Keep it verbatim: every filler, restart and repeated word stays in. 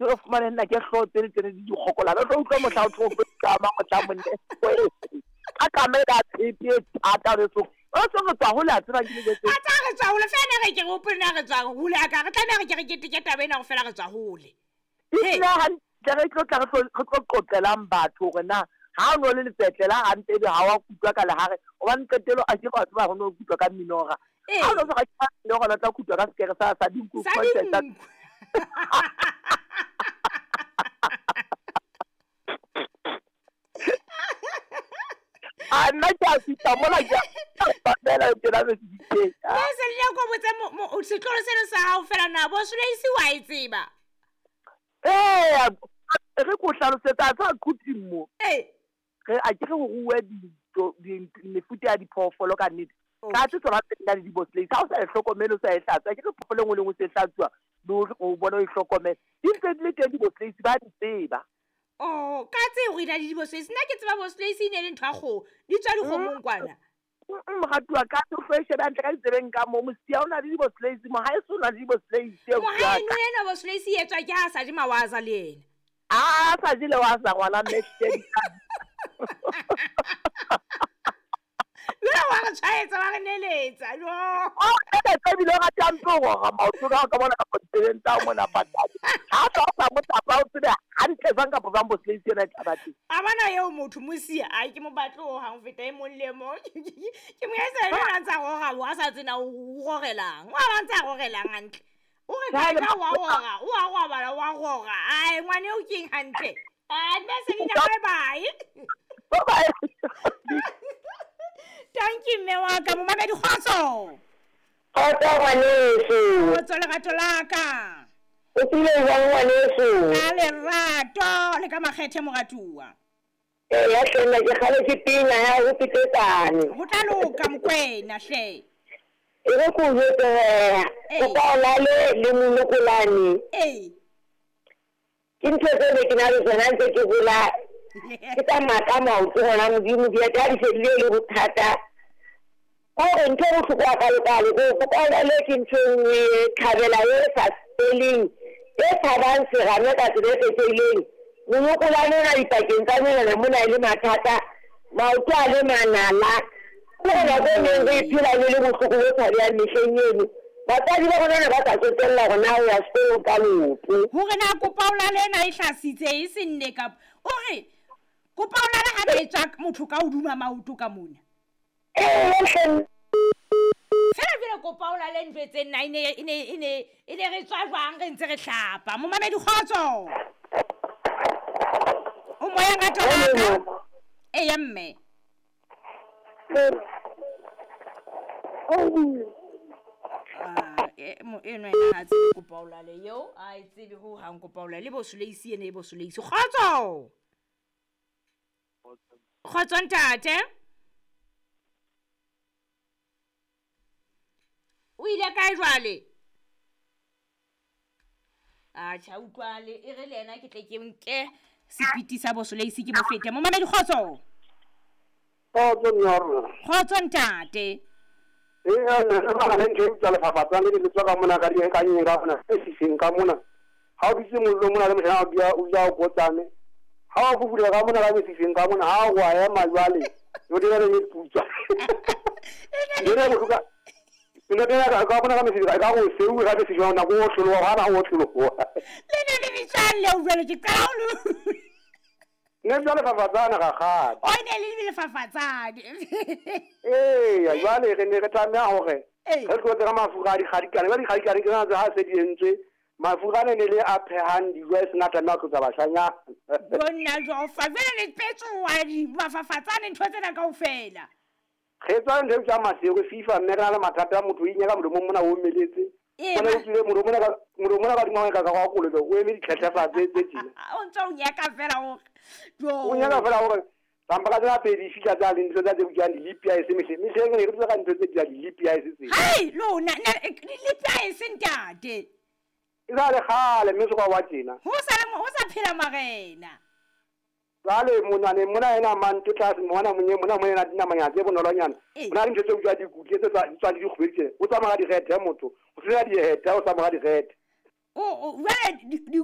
O fumane nna ke hlooho tsene tsene di dikgokola. Re tlo utlwa mohla o tlo kama mohla monne. Ka kamela tshepe e thata re so. O se re tswa hole a tseba ke le jwetse. A tsa re tswa hole fela re ke re hopole na re tswa hole a ka re tlameha re ke re keteke taba ena ho fela re tswa hole. Ebile hantle re tlo tla re tlo re tlo qoqelang batho hore na ha o no le letsetlela hantle ebe ha wa kutlwa ka lehare hobane qetelo a ke batho ba ho no kutlwa ka minora. Ha o no se ka minora o tla kutlwa ka sekere sa sa dinku Sa dinku. A nna ke a fihla mola ke a fela ke la be Mme Selina ko botse setlolo seno sa hao fela na bo Sulaisi wa e tseba? Ee, re ko hlalosetsa tsa quting mo. Ee. Re a ke re ho ruwe di mefuta ya diphoofolo ka nnete. Ka tse tsona tse nang le di-boslase ha o sa e hlokomele o sa e hlatswa ke re phoofolo e nngwe le nngwe se hlatsuwa le o bona o e hlokomele. Di ntse di le teng di-boslase ba di tseba. Oh, ka tse hore na le di-boslase nna ke tseba boslase e ne le ntho ya kgoho di tswa dikgomong kwana. Moratuwa ka tlo e shebe hantle ka ditsebeng ka mo mosia o na le di-boslase mo ha e so na le di-boslase. Mohaeno ena boslase e etswa ke ha sa je mawaza le ena. A sa je le waza ngwana mme Jwale wa re tshwaetsa wa re neletsa jo. Oh, ene tse bile o ratang tlo rora maoto ka ka bona ka ditsebeng tsa mona patadi. Ha sa sa mo tapa o tsebe hantle jwang kapa jwang boslase yona e tla ba teng. A bona eo motho mosia ai ke mo batle ho hang feta e mong le mong. Ke mo etsa ena a ntsa rora wa sa tsena o rorelang. Wa ba ntsa rorelang hantle. O re ka wa rora, o a robala wa rora. Ai ngwane o keng hantle. Ai mme Selina bye bye. Bye bye. Thank you mme wa ka momamedi kgotso. Kgotso ngwaneso. Kgotso lerato la ka. O tsile jwang ngwaneso? Ka lerato le ka makgethe moratuwa. Ee ya hle nna ke kgaletse pina ya ho petetsane. Ho tla loka Mokwena hle. E re ko jwetse hee, kopaolale le monokolane. Ee. Ke ntho tse ne ke na le tsona ntse ke hola. Ke tsamaya ka maoto hona Modimo di a di fedile le bothata. Hore ntho e bohloko hakalo-kalo ko kopaolale ke ntho e nngwe thabela e sa feleng e tshabang serame ka tsela e kgethehileng. Monokolane ona dipakeng tsa menwana mona e le mathata, maoto a le manala. Ke hore nako e neng re phela le le bohloko bo tshabehang mehleng eno. Batswadi ba rona ne ba sa tsotella hore na o ya sekolong ka leoto. Hore na kopaolale ena e hlasitse e se nne kapa o re kopaolale ha ba e tswa motho ka hodima maoto ka mona. Ee hle. Fela jwale kopaolale ntho tse nna e ne e ne e ne e ne re tswa jwang re ntse re hlapa. Momamedi kgotso. O moya ngata wa ka. Eya mme. Ah, e mo eno ena ha tsebe kopaolale eo a e tsebe ho hang kopaolale bo Sulaisi ene e bo Sulaisi. Kgotso. Kgotso ntate. O ile kae jwale? A tjha utlwale e re le yena ke tle ke nke sepiti sa bo Sulaisi ke mo fete. Momamedi kgotso. Kgotso mme rona. Kgotso ntate. Ee re ba le ntho tsa lefafatsane le tswa ka mona ka di ka nyeng ka mona e siseng ka mona. Ha o bitse mollo mona le moshana o bia o ja o kotsane. Ha o fufula ka mona ka mesifeng ka mona ha o wa ema jwale. Yo dira le putswa. Ene bo ka Ene dira ka mona ka mesifeng ka go seu ga mesifeng na go tlologa ga na go tlologa. Le ne le bitsang le o jwale ke qala ho Ne jwale fafatsana ga gale. O ne le le fafatsane. Ee, jwale re ne re tlameha hore re tlotse ka mafura a dikgadikane. Ba dikgadikane ke tsona tse ha se di entswe. Mafura ne ne le a phehang dijo e sena tlameha ho tlotsa bashanyana. Bonna Jofa, jwale le petsoa di mafafatsane ntho tsena kaofela. Re tswa ntho tsa maseko FIFA mme re na le mathata a motho o inyaka molomong mona o omeletse. Bona o tswile molomo mona ka molomo mona ka dingwe ka ka go kolobe o eme ditlhetlhefatse tse tjena. O ntse o nyaka fela hore jo. O nyaka fela hore tsampa ka tsela pedi fihla tsa le ntho tsa tse bitswang di-lip ice mehleng. Mehleng ne re tswa ka ntho tse bitswang di-lip ice tse. Hai lona di-lip ice ntate. E sa le kgale mme se kwa wa tjena. Ho sa le ho sa phela marena. Jwale mona ne mona ena manto tlase mona monye mona mona dinamanyana tse bonolonyana. Mona dintho tse bitswang dikutle tse tswa di dikgwedi tse. O tsamaya ka direthe motho. O sena dieta o tsamaya ka direthe. O o jwale dikutle